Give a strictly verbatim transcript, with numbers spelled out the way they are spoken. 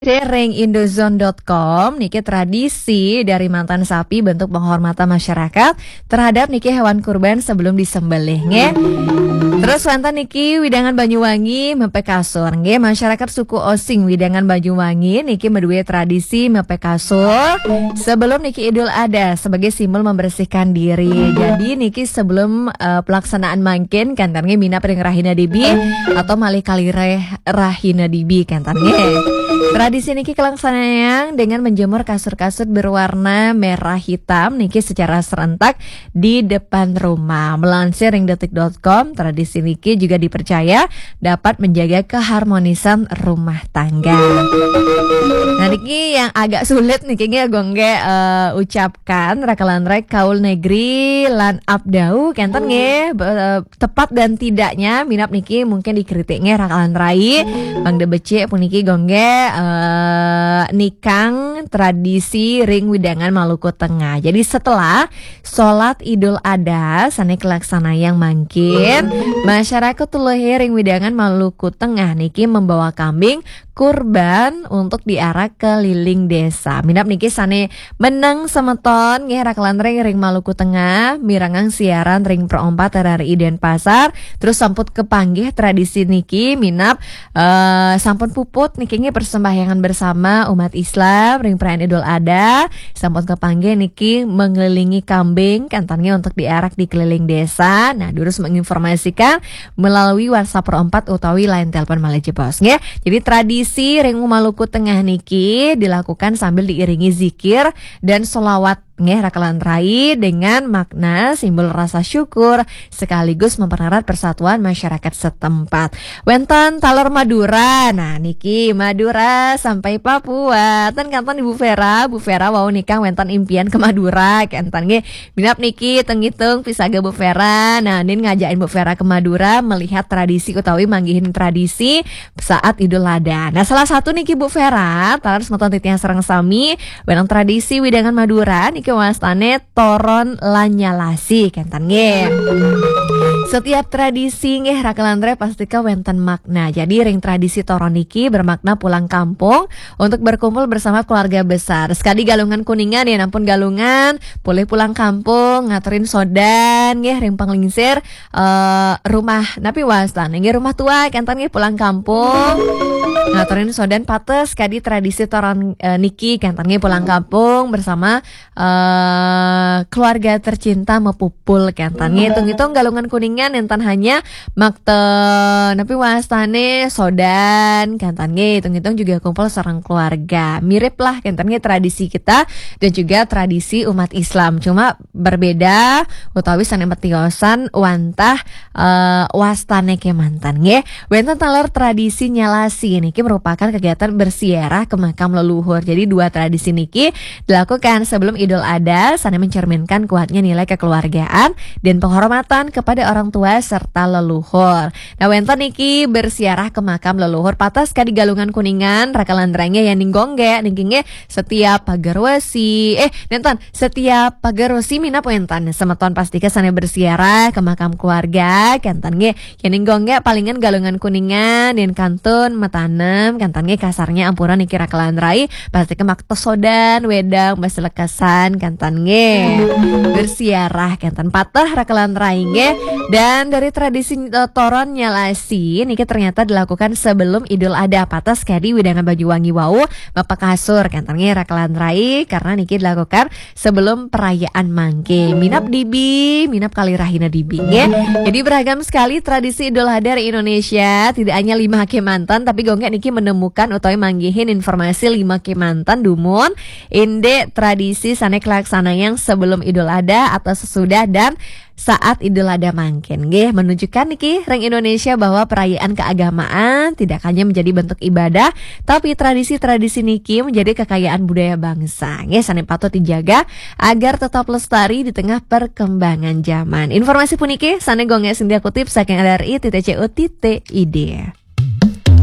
Ring indozone dot com niki tradisi dari mantan sapi bentuk penghormatan masyarakat terhadap niki hewan kurban sebelum disembelih nggih. Terus wonten niki wewidangan Banyuwangi mepek kasur nggih, masyarakat suku Osing wewidangan Banyuwangi niki meduwe tradisi mepek kasur sebelum niki Idul Adha sebagai simbol membersihkan diri. Jadi niki sebelum eh, pelaksanaan mangkin kenten nggih minab ring rahina dibi atau malih kalih rahina dibi kenten nggih. Tradisi niki kalaksanayang dengan menjemur kasur-kasur berwarna merah hitam niki secara serentak di depan rumah. Melansir ring detik dot com, tradisi niki juga dipercaya dapat menjaga keharmonisan rumah tangga. Nah, niki yang agak sulit niki nggih Gung nggih eh, ucapkan raka lan rai, kaul negeri lan abdau kenten nggih, be- tepat dan tidaknya minab niki mungkin dikritik nggih raka lan rai. Mangda becik puniki Gung nggih eh, nikang tradisi ring wewidangan Maluku Tengah. Jadi setelah salat Idul Adha sane kalaksanayang mangkin, masyarakat Tuluhe ring wewidangan Maluku Tengah niki membawa kambing kurban untuk diarak keliling desa. Minab niki sane meneng semeton nggih raka lan rai ring Maluku Tengah, mirengang siaran ring Pro empat R R I Denpasar, terus sampun kepanggih tradisi niki minab eh, sampun puput niki nggih persembahyangan bersama umat Islam ring perayaan Idul Adha, sampun kepanggih niki mengelilingi kambing kenten nggih untuk diarak di keliling desa. Nah, durus menginformasikan melalui WhatsApp Pro empat utawi line telepon malih jebos nggih. Jadi tradisi ring Maluku Tengah niki dilakukan sambil diiringi zikir dan selawat nggih raka lan rai dengan makna simbol rasa syukur sekaligus mempererat persatuan masyarakat setempat. Wenten taler Madura. Nah, niki Madura sampai Papua. Ten kanten Ibu Vera, Bu Vera wau nikang wenten impian ke Madura kenten nggih. Minab niki teng-teng pisaga Bu Vera. Nah, nin ngajakin Bu Vera ke Madura melihat tradisi utawi manggihin tradisi saat Idul Adha. Nah, salah satu niki Bu Vera, taler semeton titiang sareng sami, wenang tradisi wewidangan Madura niki wastane toron lan nyalasi kenten nggih. Setiap tradisi nggih raka lan rai pastika wenten makna. Jadi ring tradisi toron niki bermakna pulang kampung untuk berkumpul bersama keluarga besar. Sekadi Galungan Kuningan ya, nampun Galungan, boleh pulang kampung, ngaturin sodan nggih ring panglingsir eh, rumah napi wastane nggih, rumah tua kenten nggih pulang kampung. Ngaturin sodan pates kadi tradisi toron eh, niki kenten nggih pulang kampung bersama eh, keluarga tercinta mepupul kenten nggih. Hitung-hitung Galungan Kuningan enten hanya makta napi wastane sodan kenten nggih. Hitung-hitung juga kumpul sareng keluarga. Mirip lah kenten nggih tradisi kita dan juga tradisi umat Islam. Cuma berbeda utawi sane metiosan wantah eh, wastane kemanten nggih. Wenten taler tradisi nyalasi niki merupakan kegiatan berziarah ke makam leluhur. Jadi dua tradisi niki dilakukan sebelum Idul Adha sane mencerminkan kuatnya nilai kekeluargaan dan penghormatan kepada orang tua serta leluhur. Nah, wenten niki berziarah ke makam leluhur patas kadi Galungan Kuningan, raka lan rai nggih ya ning Gung nggih niki nggih setiap pagar wesi. Eh, nenten, setiap pagar wesi minab wenten semeton pastika sane berziarah ke makam keluarga kenten nggih. Ya ning Gung nggih palingan Galungan Kuningan yen kantun metanem kenten nggih kasarnya ampura niki raka lan rai pastika makta sodan wedang basa lekesan kenten nggih. Berziarah kenten pateh raka lan rai nggih. Dan dari tradisi eh, toron nyalasi niki ternyata dilakukan sebelum Idul Adha patas kadi wewidangan Banyuwangi wau mepek kasur kenten nggih raka lan rai karena niki dilakukan sebelum perayaan mangke. Minab dibi, minab kalih rahina dibi nggih. Jadi beragam sekali tradisi Idul Adha di Indonesia. Tidak hanya lima kemanten tapi Gung nggih niki menemukan utawi manggihin informasi lima kemanten dumun indik tradisi sane kalaksanayang sebelum Idul Adha atau sesudah dan saat Idul Adha mangkin nggih menunjukkan niki ring Indonesia bahwa perayaan keagamaan tidak hanya menjadi bentuk ibadah tapi tradisi-tradisi niki menjadi kekayaan budaya bangsa nggih sane patut dijaga agar tetap lestari di tengah perkembangan zaman. Informasi puniki sane Gung nggih singgah kutip saking R R I titik C O titik I D.